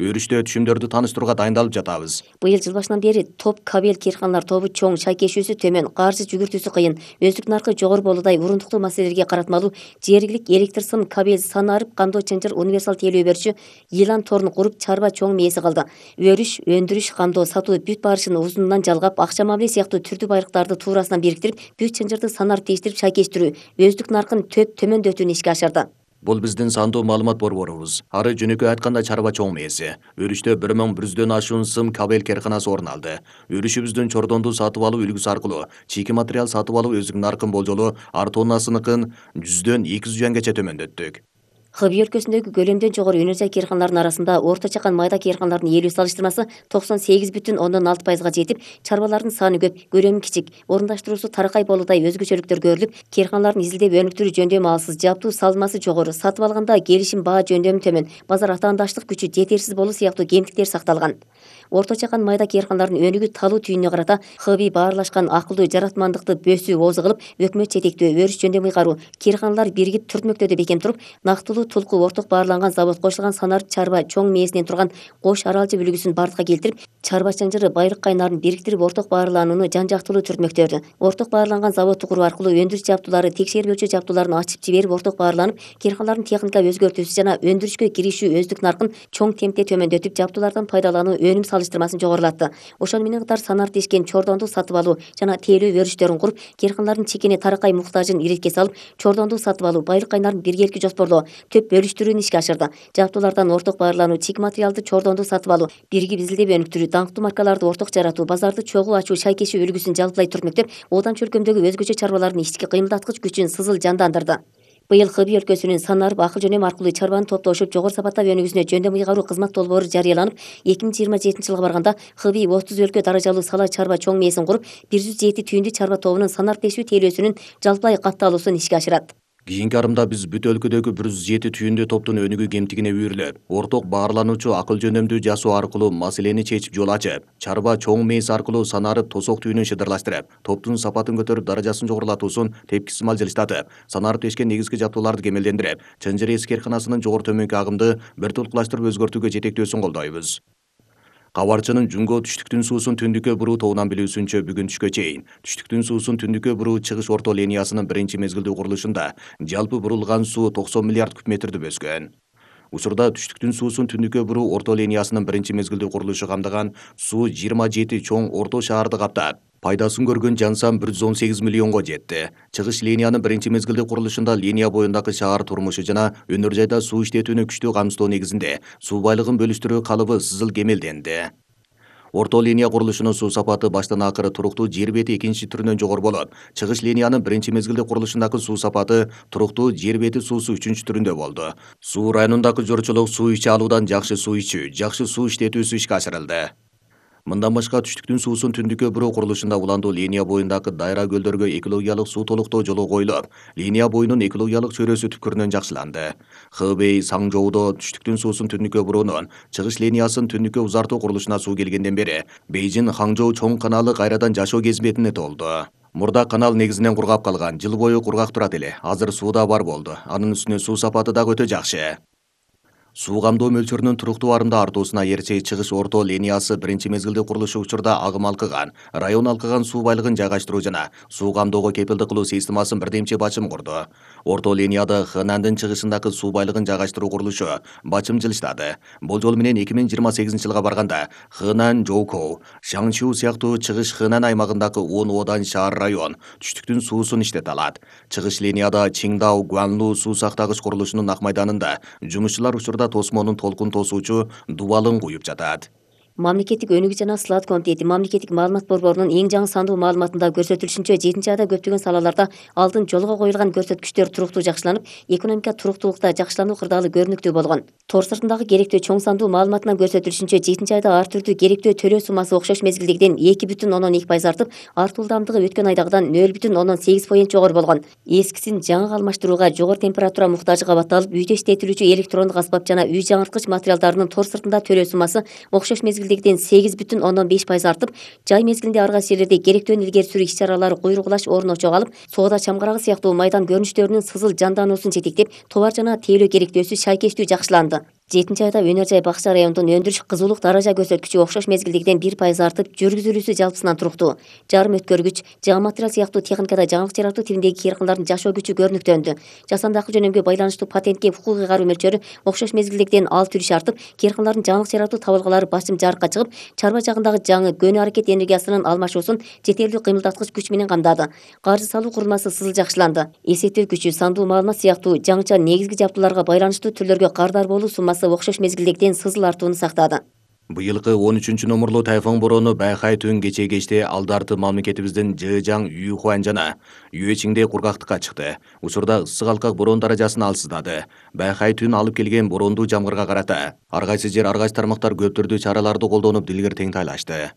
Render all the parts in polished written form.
Өрүштө түшүмдөрдү тааныштырууга дайындалып жатабыз. Быйыл жыл башынан бери топ кабел кыйрканалар тобу чоң, шайкешүүсү төмөн, каржы жүгүртүүсү кыйын, өздүк наркы жогору болуудай урундуктуу маселелерге каратмалуу жергилик электр сым, кабел, санарып, кандоо чынжыр, универсал тейлөө берүүчү Yılan торун куруп чарба чоң мээси кылды. Өрүш, өндүрүш, кандоо, сатуу бүт барышын узунунан жалгап, акча мамиле сыяктуу түрдүү байрыктарды туурасынан бириктирип, бүт чынжырды санарып тийиштирип шайкештирүү, өздүк наркын төмөндөтүүнү ишке ашырды. Бул биздин сандуу маалымат борборубуз. Ары жөнөкөй айтканда чарба чоң мээси. Өрүштө 1100дөн ашуун сым кабел карканасы орун алды. Өрүшүбүздүн чордондуу сатып алуу үлгүсү аркылуу чийки материал сатып алуу өздүк наркын болжолу ар тоннасыныкын 100дөн 200 юанgacha төмөндөттүк. Хыбый өлкөсүндөгү көлөмдөн жогору өнөр жай кыйрканалардын арасында орто чакан майда кыйрканалардын ээлүү салыштырмасы 98,6%га жетип, чарбалардын саны көп, көлөмү кичик, орундаштыруусу таракай болуудай өзгөчөлүктөр көрүлүп, кыйрканалардын изилдеп өнүктүрүү жөндөмү алсыз, жабдуу салмасы жогору, сатып алганда келишим баа жөндөмү төмөн, базар атаандаштык күчү жетерсиз болуу сыяктуу кемтиктер сакталган. Орто чакан майда кыйрканалардын өнүгүү талуу түйүнүнө карата хыбый баарлашкан акылдуу жаратмандыкты бөсүү оозу кылып, өкмөт жетектөө өрүш жөндөмү ыйгаруу, кыйрканалар биригип түртмөктөдө бекем туруп, нактылуу тулку орток баарланган завод кошулган санарып чарба чоң мээсинен турган Кош Аралчы бүлүгүсүн бардыкка келтирип, чарба чынжыры байрык кайнарын бириктирип орток баарланууну жан жактылуу түртмөктөрдү. Орток баарланган заводду куруу аркылуу өндүрүш жабдуулары, текшербөөчү жабдууларын ачып жиберип орток баарланып, кыйрканалардын техника өзгөртүүсү жана өндүрүшкө киришүү өздүк наркын чоң темпте төмөндөтүп, жабдуулардан пайдалануу өнүм салыштырмасын жогорулатты. Ошону менен катар санарып дешкен чордондуу сатып алуу жана тейлөө өрүштөрүн куруп, кыйрканалардын чекене таракай муктажын иретке салып, чордондуу сатып алуу, байрык кайнарын биргеликти жоспорлоо, төп бөлүштүрүүнү ишке ашырды. Жабдуулардан орток баарлануу, чийки материалды чордондуу сатып алуу, биригип изилдеп өнүктүрүү, даңктуу маркаларды орток жаратуу, базарды чогуу ачуу, шайкешүү үлгүсүн жалпылай түртмөктөп, Оодам чөлкөмдөгү өзгөчө чарбалардын ички кыймылдаткыч күчүн сызыл жандандырды. Быйыл Хыбый өлкөсүнүн санарып акыл жөнөмү аркылуу чарбаны топтошуп, жогору сапаттап өнүгүүсүнө жөндөм ыйгаруу кызмат долбоору жарыяланып, 2027-жылга барганда Хыбый 30 өлкө даражалуу сала чарба чоң мээсин куруп, 107 түйүндү чарба тобунун санарып дешүү тейлөөсүнүн жалпылай катталуусун ишке ашырат. Кийинки арымда биз бүт өлкөдөгү 107 түйүндүү топтун өнүгүү кемтигине үйрүлөп, орток баарлануучу акыл жөнөмдүү жасоо аркылуу маселени чечип жол ачып, чарба чоң мээс аркылуу санарып тосок түйүнүн шыдырлаштырып, топтун сапатын көтөрүп, даражасын жогорулатуусун тепкисмал жылыштатып, санарып дешкен негизги жабдууларды кемелдендирип, чынжыр эс кыйрканасынын жогору төмөнкү агымды бир толкулаштырып өзгөртүүгө жетектөөсүн колдойбуз. Кабарчынын Жунго түштүктүн суусун түндүккө буруу тобунан билүүсүнчө бүгүн түшкө чейин түштүктүн суусун түндүккө буруу чыгыш орто линиясынын биринчи мезгилдүү курулушунда жалпы бурулган суу 90 миллиард куб метрди бөскөн. Учурда түштүктүн суусун түндүккө буруу орто линиясынын биринчи мезгилдүү курулушу камдаган суу 27 чоң орто шаарды каптап, пайдасын көргөн жан сан 118 миллионго жетти. Чыгыш линиянын биринчи мезгилдүү курулушунда линия боюндагы шаар турмушу жана өнөр жайда суу иштетүүнү күчтүү камсыздоо негизинде суу байлыгын бөлүштүрүү калыбы сызыл кемелденди. Орто линия курулушунун суу сапаты баштан акыры туруктуу жер бети экинчи түрүнөн жогору болуп, чыгыш линиянын биринчи мезгилдүү курулушундагы суу сапаты туруктуу жер бети суусу үчүнчү түрүндө болду. Суу районундагы жорчулук суу иче алуудан жакшы суу ичүү, жакшы суу иштетүүсү ишке ашырылды. Мындан башка түштүктүн суусун түндүккө буруу курулушунда уландуу линия боюндагы дайра көлдөргө экологиялык суу толуктоо жолу коюлуп, линия боюнун экологиялык чөйрөсү түпкүрүнөн жакшыланды. Хыбей Саңжоудо түштүктүн суусун түндүккө буруунун чыгыш линиясын түндүккө узартуу курулушуна суу келгенден бери Бейжин Хаңжоу чоң каналы кайрадан жашоо кезметине толду. Мурда канал негизинен кургап калган, жыл бою кургак турат эле. Азыр суу да бар болду. Анын үстүнө суу сапаты дагы өтө жакшы. Суу камдоо мөлчөрүнүн туруктуу арымда артуусуна ээрче чыгыш орто линиясы биринчи мезгилдүү курулушу учурда агым алкыган, район алкыган суу байлыгын жайгаштыруу жана суу камдоого кепилдик кылуу системасын бирдемчи бачым курду. Орто линияда Хэнандын чыгышындагы суу байлыгын жайгаштыруу курулушу бачым жылыштады. Болжол менен 2028-жылга барганда Хэнан, Жоукоу, Шаңчжу сыяктуу чыгыш Хэнан аймагындагы 10 Одан шаар район түштүктүн суусун иштете алат. Чыгыш линияда Чингдау, Гуанлу суу сактагыч курулушунун ак майданында жумушчулар учурда тосмонун толкун тосуучу дубалын куюп жатат. Мамлекеттик өнүгүү жана сылаат комитети мамлекеттик маалымат борборунун эң жаңы сандуу маалыматында көрсөтүлүшүнчө 7-айда көптөгөн салаларда алдын жолго коюлган көрсөткүчтөр туруктуу жакшыланып, экономика туруктуулукта жакшылануу кырдаалы көрүнүктүү болгон. Тор сыртындагы керектөө чоң сандуу маалыматынан көрсөтүлүшүнчө 7-айда ар түрдүү керектөө төлөө суммасы окшош мезгилдегиден 2,2% артып, артуу ылдамдыгы өткөн айдагыдан 0,8% жогору болгон. Эскисин жаңыга алмаштырууга жогору температура муктажы кабатталып, үйдө иштетилүүчү электрондук аспап жана үй жаңырткыч материалдарынын тор сыртында төлөө суммасы окшош мезгилдегиден 8,5% артып, жай мезгилинде ар кайсы жерлерде керектөөнү илгери сүрүү иш-чаралары куйругулаш орун чогалып, соода чамгарагы сыяктуу майдан көрүнүштөрүнүн сызыл жандануусун жетектеп, товар жана тейлөө керектөөсү шайкештүү жакшыланды. 7 айда өнөр жай бакча районунун өндүрүш кызуулук даража көрсөткүчү окшош мезгилдегиден 1% артып, жүргүзүлүүсү жалпысынан туруктуу. Жарым өткөргүч, жаа материал сыяктуу техникада жаңылык жаратуу тибиндеги кыйркындардын жашоо күчү көрүнүктөндү. Жасанды акыл жөнөмгө байланыштуу патентке укугуй кароо мөлчөрү окшош мезгилдегиден 6 үлүш артып, кыйркындардын жаңылык жаратуу табылгалары басым жарыкка чыгып, чарба жагындагы жаңы көнү аракет энергиясынын алмашуусун жетерлүү кыймылдаткыч күч менен камдады. Каржы салуу курулмасы сызыл жакшыланды. Эсептөө күчү, сандуу маалымат сыяктуу жаңыча негизги жабдууларга байланыштуу түрлөргө кардар болуу суммасы окшош мезгилдегиден сызыл артууну сактады. Быйылкы 13-номурлуу тайфун бороону Байхай түн кече кечте алдарты мамлекетибиздин Жэжаң, Юйхуан жана Юэчиңде кургактыкка чыкты. Учурда ысык алкак бороон даражасын алсыздады. Байхай түн алып келген бороондуу жамгырга карата ар кайсы жер, ар кайсы тармактар көп түрдүү чараларды колдонуп дилгер теңтайлашты.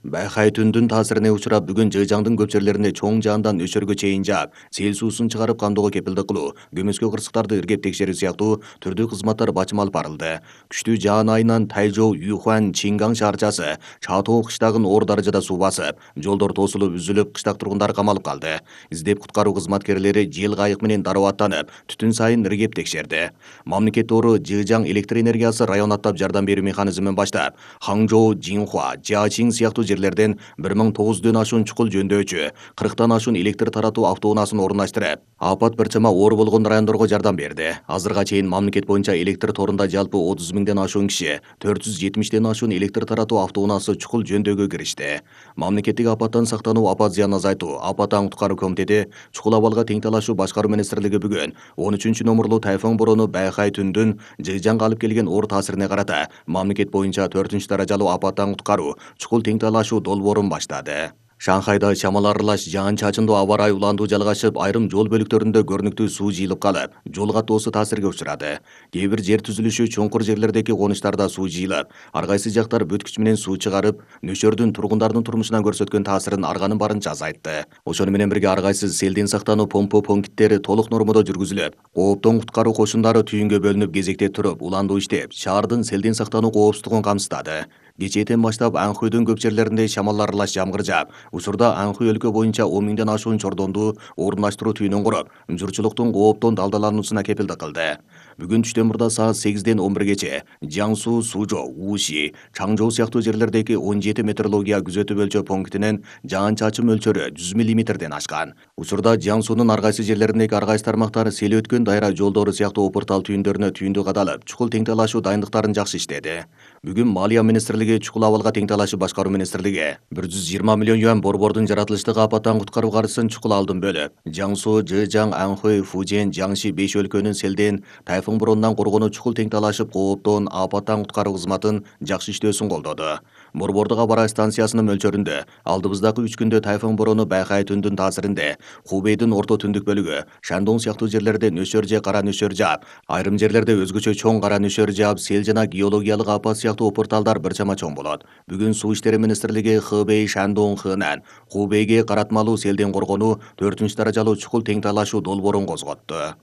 Байхай түндүн таасирине учурап бүгүн Жэжаңдын көп жерлеринде чоң жаандан нөчөргө чейин жаап, сел суусун чыгарып камдоого кепилдик кылуу, көмөскө кырсыктарды иргеп текшерүү сыяктуу түрдүү кызматтар бачым алып барылды. Күчтүү жаан айынан Тайжоу, Юйхуан, Чингаң шаарчасы, Чатоо кыштагын оор даражада суу басып, жолдор тосулуп үзүлүп, кыштак тургундар камалып калды. Издеп куткаруу кызматкерлери жел кайык менен дароо аттанып, түтүн сайын иргеп текшерди. Мамлекет ору Жэжаң электр энергиясы район аттап жардам берүү механизмин баштап, Хаңжоу, Жинхуа, Жачиң сыяктуу жерлерден 1900дөн ашуун чукул жөндөочү, 40тан ашуун электр таратуу автоунаасын орундаштырып, апат бир чама оор болгон райондорго жардам берди. Азырга чейин мамлекет боюнча электр торунда жалпы 30 миңден ашуун киши, 470тен ашуун электр таратуу автоунаасы чукул жөндөөгө киришти. Мамлекеттик апаттан сактануу, апат зыянын азайтуу, апаттан куткаруу комитети чукул абалга тең талашуу башкаруу министрлиги бүгүн 13-номурлуу тайфун бороону Байхай түндүн Жэжаңга алып келген оор таасирине карата мамлекет боюнча 4-даражалуу апаттан куткаруу чукул тең талашуу долбоорун баштады. Шанхайда чамал аралаш жаан-чачындуу аба ырайы уландуу жалгашып, айрым жол бөлүктөрүндө көрүнүктүү суу жыйылып калып, жол каттоосу таасирге учурады. Кээ бир жер түзүлүшү чуңкур жерлердеги конуштарда суу жыйылып, ар кайсы жактар бүткүч менен суу чыгарып, нөчөрдүн тургундардын турмушуна көрсөткөн таасирин арганын барынча азайтты. Ошону менен бирге ар кайсы селден сактануу помпо пункттери толук нормодо жүргүзүлүп, кооптон куткаруу кошундары түйүнгө бөлүнүп кезекте туруп, уландуу иштеп, шаардын селден сактануу коопсуздугун камсыздады. Кечээден баштап Анхуйдун көп жерлеринде чамал аралаш жамгыр жаап, учурда Анхуй өлкө боюнча 10 миңден ашуун чордонду орундаштыруу түйүнүн куруп, журчулуктун кооптон далдалануусуна кепилдик кылды. Бүгүн түштөн мурда саат 8ден 11гече Жаңсу, Сужоо, Уши, Чаңжоу сыяктуу жерлердеги 17 метеорология күзөтүү өлчөө пунктинен жаан-чачын мөлчөрү 100 мм ашкан. Учурда Жаңсунун ар кайсы жерлериндеги ар кайсы тармактар сел өткөн дайра жолдору сыяктуу опуртал түйүндөрүнө түйүндү кадалып, чукул тең талашуу дайындыктарын жакшы иштеди. Бүгүн Малия министрлиги, чукул абалга тең талашуу башкаруу министрлиги 120 миллион юан борбордун жаратылыштык апаттан куткаруу каржысын чукул алдын бөлүп, Жаңсу, Жэжаң, Анхуй, Фужен, Жаңши 5 өлкөнүн селден, тайфун бороонунан коргонуу чукул тең талашып, кооптон апаттан куткаруу кызматын жакшы иштөөсүн колдоду. Борбордук аба ырайы станциясынын мөлчөрүндө алдыбыздагы 3 күндө тайфун бороону Байхай түндүн таасиринде Хубейдин орто түндүк бөлүгү, Шандон сыяктуу жерлерде нөчөр же кара нөчөр жаап, айрым жерлерде өзгөчө чоң кара нөчөр жаап, сел жана геологиялык апат сыяктуу опурталдар бир чама чоң болот. Бүгүн Суу иштери министрлиги Хэбэй, Шандон, Хэнан, Хубейге каратмалуу селден коргонуу 4-даражалуу чукул тең талашуу долбоорун козготту.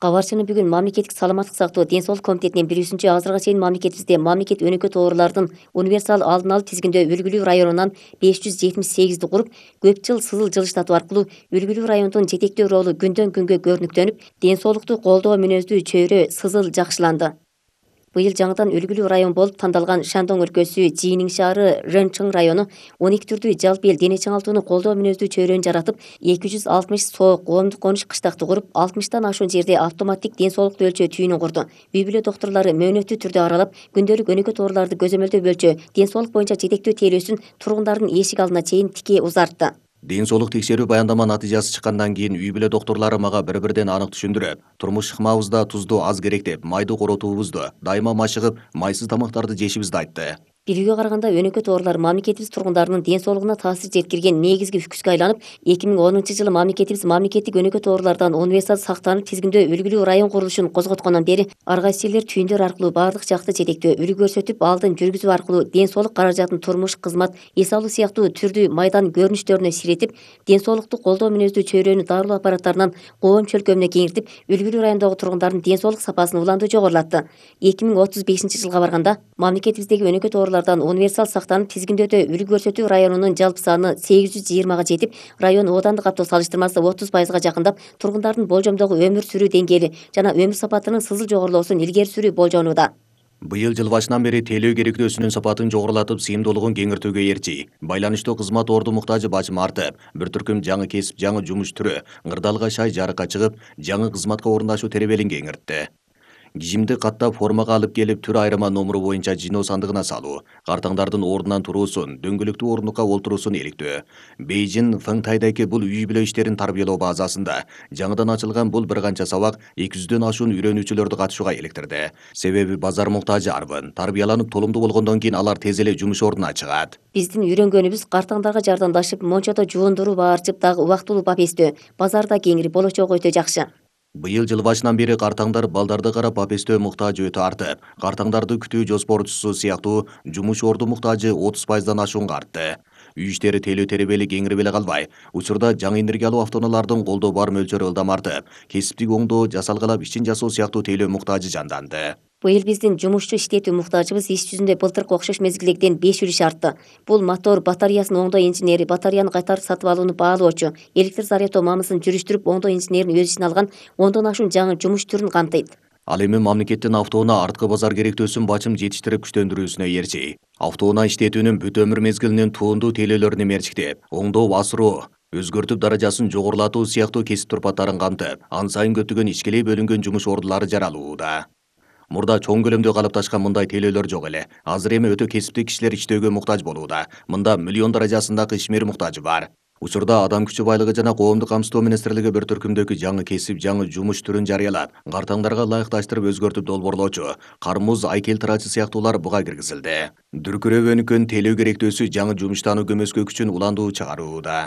Кабарчыны бүгүн мамлекеттик саламаттык сактоо ден соолук комитетинин билүүсүнчө, азыркыга чейин мамлекетибизде мамлекет өнөкөт оорулардын универсал алдын алуу тизгиндөө үлгүлүү районунан 578ди куруп, көп жыл сызыл жылыштатуу аркылуу үлгүлүү райондун жетектөө ролу күндөн күнгө көрүнүктөнүп, ден соолукту колдоо мүнөздүү чөйрө сызыл жакшыланды. Быйыл жаңыдан үлгүлүү район болуп тандалган Шандон өлкөсү Жинин шаары Рэнчың району 12 түрдүү жалпы эл дене чыңалтууну колдоо мүнөздүү чөйрөнү жаратып, 260 соо коомдук конуш кыштакты куруп, 60тан ашуун жерде автоматтик ден соолукту өлчөө түйүнүн курду. үй-бүлө доктурлары мөөнөттүү түрдө аралап, күндөлүк өнөкөт ооруларды көзөмөлдөө бөлчө ден соолук боюнча жетектөө тейлөөсүн тургундардын эшик алдына чейин тике узартты. Ден соолук текшерүү баяндама натыйжасы чыккандан кийин үй-бүлө доктурлары мага бир-бирден анык түшүндүрүп, турмуш ыкмабызда тузду аз керек деп, майды коротуубузду, дайыма машыгып, майсыз тамактарды жешибизди айтты. Билүүгө караганда өнөкөт оорулар мамлекетибиз тургундарынын ден соолугуна таасир жеткирген негизги күчкө айланып, 2010-жылы мамлекетибиз мамлекеттик өнөкөт оорулардан универсал сактанып тизгиндөө үлгүлүү район курулушун козготкондон бери ар кайсы элдер түйүндөр аркылуу баардык жакты жетектөө, үлгү көрсөтүп, алдын жүргүзүү аркылуу ден соолук каражатын турмуш, кызмат, эс алуу сыяктуу түрдүү майдан көрүнүштөрүнө сиретип, ден соолукту колдоо мүнөздүү чөйрөнү дарылоо аппараттарынан коом чөлкөмүнө кеңиртип, үлгүлүү райондогу тургундардын ден соолук сапасын уланды жогорулатты. 2035-жылга барганда мамлекетибиздеги өнөкөт универсал сактанып тизгиндөөдө үлгү көрсөтүү районунун жалпы саны 820га жетип, район оодандык каттоо салыштырмасы 30%га жакындап, тургундардын болжомдогу өмүр сүрүү деңгээли жана өмүр сапатынын сызыл жогорулоосун илгери сүрүү болжонууда. Быйыл жыл башынан бери тейлөө керектөөсүнүн сапатын жогорулатып, сыйымдуулугун кеңиртүүгө эрчи. Байланыштуу кызмат орду муктажы бачым артып, бир түркүм жаңы кесип, жаңы жумуш түрү ыңырдалга шай жарыкка чыгып, жаңы кызматка орундашуу теребелин кеңиртти. Кижимди каттап формага алып келип, түр айырма номуру боюнча жиноо сандыгына салуу, картаңдардын ордунан туруусун, дөңгөлөктүү ордунукка олтуруусун иликтөө. Бейжин Фыңтайдагы бул үй бүлө иштерин тарбиялоо базасында жаңыдан ачылган бул бир канча сабак 200дөн ашуун үйрөнүүчүлөрдү катышууга иликтирди. Себеби базар муктажы арбын. Тарбияланып толумдуу болгондон кийин алар тез эле жумуш ордуна чыгат. Биздин үйрөнгөнүбүз картаңдарга жардамдашып, мончодо жуундуруп аарчып дагы убактылуу папестөө. Базарда кеңири болочогу өтө жакшы. Быйыл жыл башынан бери картаңдар балдарды карап папестөө муктажы өтө артып, картаңдарды күтүү жоспорчусу сыяктуу жумуш орду муктажы 30%дан ашуунга артты. Үй иштери тейлөө теребели кеңирип эле калбай, учурда жаңы энергия алуу автоунаалардын колдо бар мөлчөрү ылдам артып, кесиптик оңдоо, жасалгалап ичин жасоо сыяктуу тейлөө муктажы жанданды. Быйыл биздин жумушчу иштетүү муктажыбыз иш жүзүндө былтыркы окшош мезгилдегиден 5 үлүш артты. Бул мотор батареясын оңдоо инженери, батареяны кайтарып сатып алууну баалоочу, электр зарядтоо мамысын жүрүштүрүп оңдоо инженерин өз ичине алган 10дон ашуун жаңы жумуш түрүн камтыйт. Ал эми мамлекеттин автоунаа арткы базар керектөөсүн бачым жетиштирип күчтөндүрүүсүнө эрчи. Автоунаа иштетүүнүн бүт өмүр мезгилинин туундуу тейлөөлөрүн мерчиктеп, оңдоо, асыруу, өзгөртүп даражасын жогорулатуу сыяктуу кесип турпаттарын камтып, ан сайын көптөгөн ичкелей бөлүнгөн жумуш ордулары жаралууда. Мурда чоң көлөмдө калыпташкан мындай тейлөөлөр жок эле. Азыр эми өтө кесиптик кишилер иштөөгө муктаж болууда. Мында миллион даражасындагы ишмер муктажы бар. Учурда Адам күчү байлыгы жана коомдук камсыздоо министрлиги бир түркүмдөгү жаңы кесип, жаңы жумуш түрүн жарыялап, картаңдарга ылайыкташтырып өзгөртүп долбоорлоочу, кармуз, айкел тырачы сыяктуулар буга киргизилди. Дүркүрөп өнүккөн тейлөө керектөөсү жаңы жумуштануу көмөскө күчүн уландуу чыгарууда.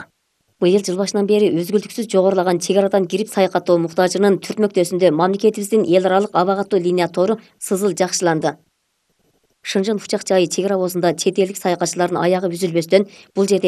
Быйыл жыл башынан бери үзгүлтүксүз жогорулаган чек арадан кирип саякаттоо муктажынын түртмөктөөсүндө мамлекетибиздин эл аралык аба каттуу линия тору сызыл жакшыланды. Шынжын Учак жайы чек ара обозунда чет элдик саякатчылардын аягы үзүлбөстөн бул жерде